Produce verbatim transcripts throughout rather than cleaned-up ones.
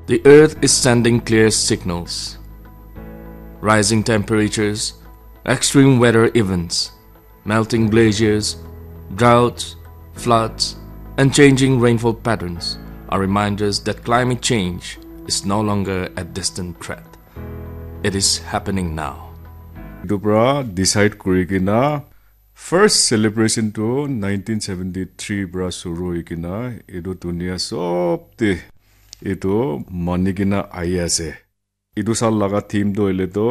The earth is sending clear signals. Rising temperatures, extreme weather events, melting glaciers, droughts, floods, and changing rainfall patterns are reminders that climate change is no longer a distant threat. It is happening now. Etu pra decide kuri kena first celebration tu nineteen seventy-three pra shuru hoi kena etu dunia sob te etu mani kena ahi ase. Etu sal laga theme tu hoile tu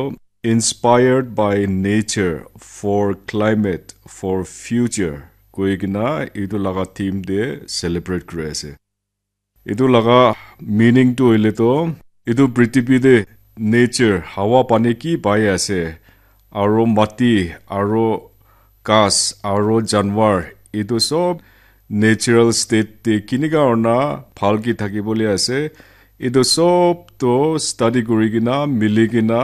inspired by nature for climate for future koi kena etu laga theme te celebrate kuri ase. Etu laga meaning tu hoile tu etu prithibi te nature hawa pani ki pai ase aro mati aro ghas aro janwar etu sob natural state te kinika hoi na bhal ki thaki bole ase etu sob tu study kuri kena mili kena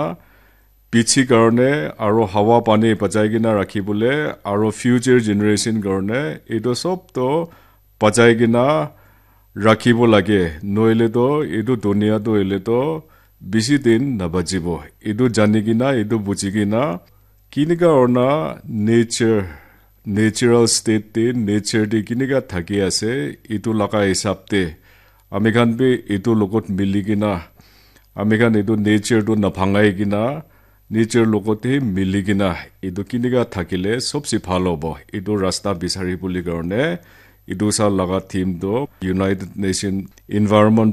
piche karne aro hawa pani bachai kena rakhi bole aro future generation karne etu sob tu bachai kena rakhibo lage nohoile tu etu dunia tu hoile tu bishi din nabachibo etu jani kena etu buji kena kinika hoi na nature natural state te nature te kinika thaki ase etu laga hisab te ami khan bi etu logot mili kena ami khan etu nature tu nabhangai kena nature logot te mili kena etu kinika thakile sobse bhal hobo etu rasta bisari bole karne etu sal laga theme tu United Nation Environment